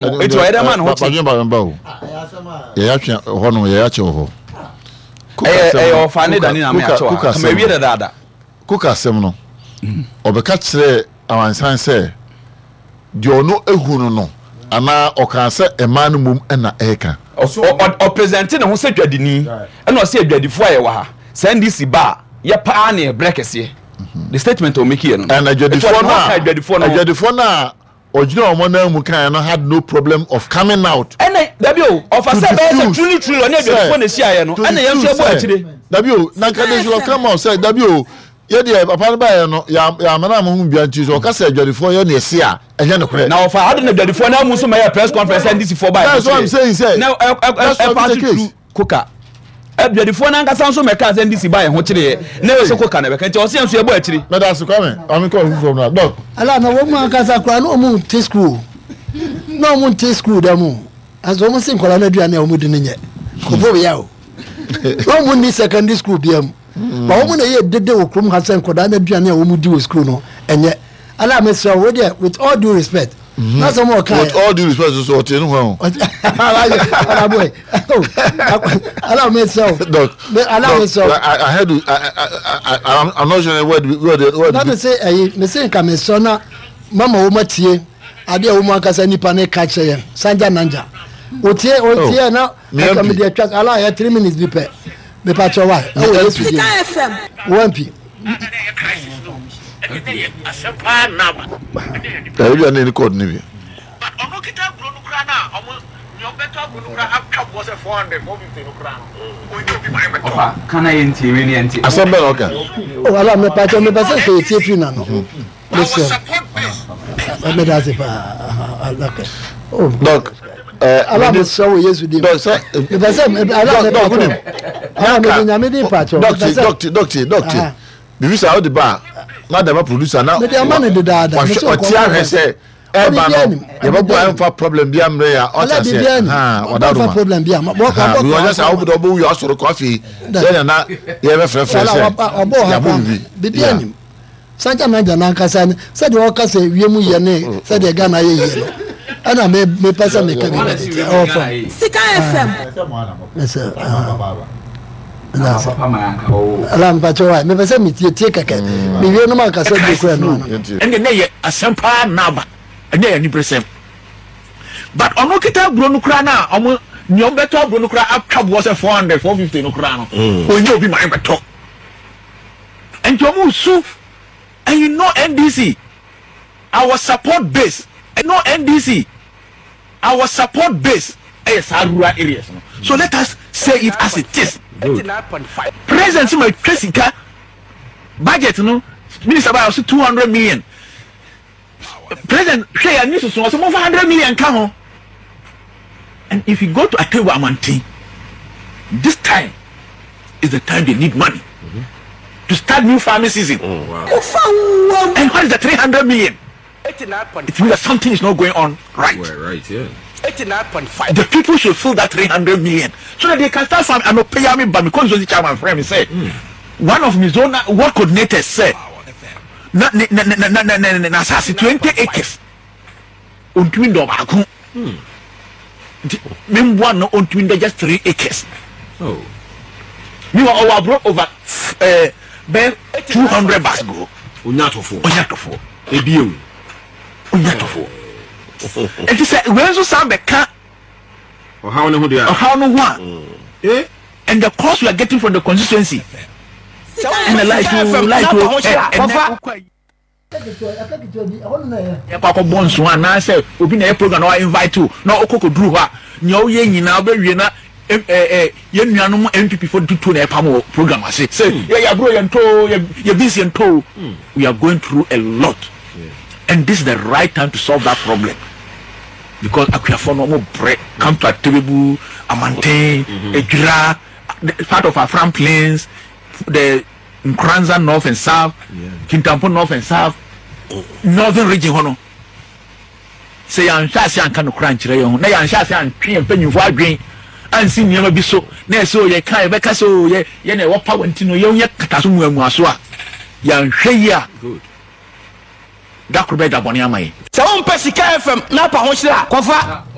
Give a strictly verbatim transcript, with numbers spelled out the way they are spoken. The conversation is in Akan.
Eti ɔyɛ dɛ ma ne ho kye. Badwene ba ba o, yɛyɛ atwe hɔ no, yɛyɛ akyɛ wɔ hɔ. Ɛyɛ ɛyɛ ɔfa ne dani na me akyɛ wɔ ha kama ewie dadaada. Koka asɛm no, ɔbɛka kyerɛ amansan sɛ deɛ ɔno ehu no no anaa ɔkaa sɛ mmaa no mmom ɛna ɛreka. Ɔpresente ne ho sɛ dwadini, ɛna ɔsɛ adwadifoɔ a yɛwɔ ha sɛ N D C ba a, yɛ paa ne ɛbrɛ kɛseɛ. The statement a ɔmake yɛ no. And adwadifoɔ no a adwadifoɔ no adwadifoɔ no a ɔgyina wɔn nan mu kan no had no problem of coming out. Ɛna dabi o, ɔfa sɛ bɛyɛ sɛ truly truly ɔne adwadifoɔ na ehyiaeɛ no, ɛna yɛn nso ɛbɔ akyire. Dabi o, na nka they should have come out sɛ dabi o, yɛ deɛ papa no baayɛ no, yɛ amana mo ho bia, nti sɛ ɔka sɛ adwadifoɔ yɛ ne ɛse a, ɛnyɛ nokorɛ. Na ɔfa adi na adwadifoɔ na amu nso ma yɛ press conference N D C foɔ baayɛ. That's what I'm saying sɛ. Na ɛ ɛ ɛ pass through koka adwadifoɔ n'ankasa nso mɛka sɛ N D C ba yɛn ho kyerɛ na ɛwɔ sɛ koka na bɛka, nti ɔsɛ yɛn nso yɛbɔ akyire. Mɛda ase, Kwame Kwame kɔ foforɔ mu na dɔk. Ala na wɔn mu ankasa koraa na wɔn nte school, na wɔn nte school dɛm o, ɛsɛ wɔn si nkɔla no aduane a wɔn di no nyɛ kofo yɛ o, na wɔn ni secondary school bia mu ba, wɔn na yɛ dede wɔ kurom ha sɛ nkɔla no aduane a wɔn di wɔ school no ɛnyɛ. Ala mesrɛ wo deɛ, with all due respect, na sɛ mo ɔka With all due respect so, ɔte ne ho. Ala boy, ala mesrɛ wo. Doc. Ala mesrɛ wo. I, I heard you. I, I, I, I'm not sure word word word. Na me se ɛyi, me se nka mesrɛ na mama wɔn atie adeɛ a wɔn ankasa nipa ne ka kyerɛ yɛn sanja nanja otie otie na ɛka mi deɛ twa ala yɛ three minutes bi pɛ, mepa kyerɛ wa ɛwɔ Yesu di wɔn pi. Ɛyɛ bi a ne ne kɔɔdu ne bi. Ɔno kita aburo no kura na ɔmo nea ɔbɛtɔ aburo no kura atwa boɔ sɛ four hundred four fifty no kura no, onye obi ma ɛbɛtɔ. Ɔfa kana yɛ ntie wei ne yɛ ntie. Asɛm bɛn na ɔka? O ala mepa kyerɛ, mepɛ sɛ nka yɛtie firi n'ano, mesrɛ meda ase paa, okay. Oh, Doc. Ala mesrɛ wɔ Yesu din. Doc sɛ. Mepɛ sɛ ala mepa kyerɛ, ala mede Nyame din pa kyerɛ. Doc, doc, doc, doc, bibi sa ɔde ba na dama producer na. Mede ama ne dedaada. Ɔte ahwɛ sɛ ɛba no yɛbɛbɔ ɛnfa problem bi ammerɛ ya, ɔte aseɛ ɔda do ma problem bi ama. Ɔnyɛ sɛ awo ɔbɔ wuyi asɔrɔ kɔ, afei yɛn nana yɛbɛfrɛfrɛ sɛ yabɔ bibi. Bibi anim sanja nanja nankasa sɛdeɛ ɔka sɛ wiem yɛ ne sɛdeɛ Ghana yɛ yie no, ɛna mepɛ sɛ meka bi bɛde ɛwɔ fam. Sika F M. Mesɛ ala mpakyɛ wa, mepɛ sɛ metietie kɛkɛ, mewie no mankasa bi kura no ano. Ɛnna ne yɛ asɛm paa naaba, ɛnyɛ yɛ aniberesɛm, but ɔno kita aburo no kura na ɔmo nea ɔbɛtɔ aburo no kura atwa boɔ sɛ four hundred four fifty no kura no, onye obi ma ɛbɛtɔ, nti ɔmo su. And you know N D C, our support base, you know N D C, our support base ɛyɛ saa rural areas no, so let us say it as it is. President ma twa sika budget no, minister ba ɔsi two hundred million. President hwɛ yɛ ani soso, ɔsɛ mo fa hundred million ka ho. And if you go to Atewa Amantin, this time is the time they need money mm-hmm. to start new farming season. Oh, wow. And what is the three hundred million? It means that something is not going on right. Right, right, yeah. eighty-nine point five. The people should feel that three hundred million so that they can start farming. And pay me by me constituency chairman friend me say, mm. one of my zone ward coordinators say, na na na na na na na na asase twenty acres ontumi ndɔ baako, nti memboa no ontumi ndɔ just three acres. Oh. Meanwhile, ɔwɔ aburo over ɛɛ bɛɛ two hundred bags go. Onya atɔfoɔ. Onya atɔfoɔ. Ebi ewu. Onya atɔfoɔ, nti sɛ wei nso san bɛka ɔhaw ne ho deɛ. Ɔhaw no ho a, Eh? and the cost we are getting from the constituency and the light o, light o, ɛ ɛnɛ wokɔ yɛkɔ akɔbɔ nso anaasɛ obi na ɛyɛ program na wa invite o, na ɔkɔ kɔduru hɔ a, nea ɔyɛ nyinaa ɔbɛwie na ɛ ɛ yɛn nuanom N P P fo tutu na ɛpam wɔ program ase sɛ yɛ yɛ aburo yɛn to yɛ yɛ beans yɛn to. We are going through a lot, and this is the right time to solve that problem, because akuafo no ɔmo brɛ. Come to Atebebu, Amanten, Ejura, part of Afram Plains, the Nkoranza North and South, Kintampo North and South, Northern Region hɔ no, sɛ yɛanhwɛ ase anka no kora nkyerɛ yɛn ho na yɛanhyɛ ase antwe yɛn mpanyinfoɔ adwen ansi nneɛma bi so na ɛsɛ o yɛka yɛbɛka sɛ o yɛ yɛ na ɛwɔ power, nti no yɛn yɛ kata so muamua so a, yɛanhwɛ yi a Good. Da koro bɛyɛ da bɔne ama yɛn. Sɛ wompɛ Sika F M na apa ho hyerɛ a, kɔfa.